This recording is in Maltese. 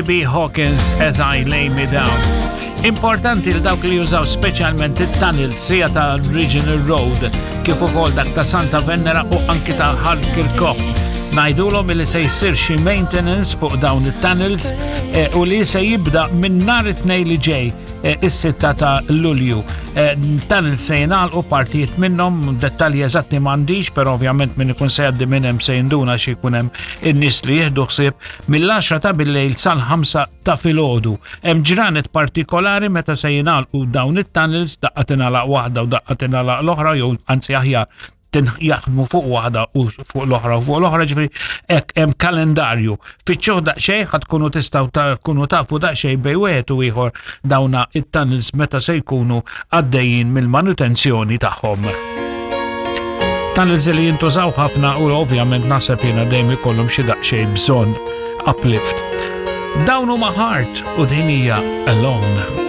B. Hawkins As I Lay Me Down. Importanti li dawk li jużaw speċjalment it-tunnel sija ta' Regional Road kif ukoll dak ta' Santa Venera u anki ta' Ħal Kirkop. Ngħidulhom li se jsir xi maintenance fuq dawn it-tunnels eh, u li se jibda minn nhar it-tnejn li ġej eh, is-sitta ta' Lulju. Eh, tunnels se jingħalqu partijiet minnhom, dettalji eżatti m'għandix, però ovvjament min ikun se jgħaddi minn hemm se jinduna xi jkun hemm in-nies li jieħdu ħsieb mill-10 ta' billejl sal-5 ta' filgħodu. Hemm ġranet partikolari meta se jingħalqu dawn it-tunnels, daqqa tingħalaq waħda u daqqa tingħalaq l-oħra jew anzi aħjar jaħdmu fuq waħda u fuq l-oħra u fuq l-oħra ġifieri hekk hemm kalendarju. Fittxuh daqsxejn ħad tkunu tistgħu tkunu tafu daqsxejn bejn wieħed u ieħor dawna it-tunnels meta se jkunu għaddejjin mill-manutenzjoni tagħhom. Tunnels li jintużaw ħafna u ovvjament naħseb jiena dejjem ikollhom xi daqsxejn bżonn uplift. Dawn huma Heart u din hija Alone.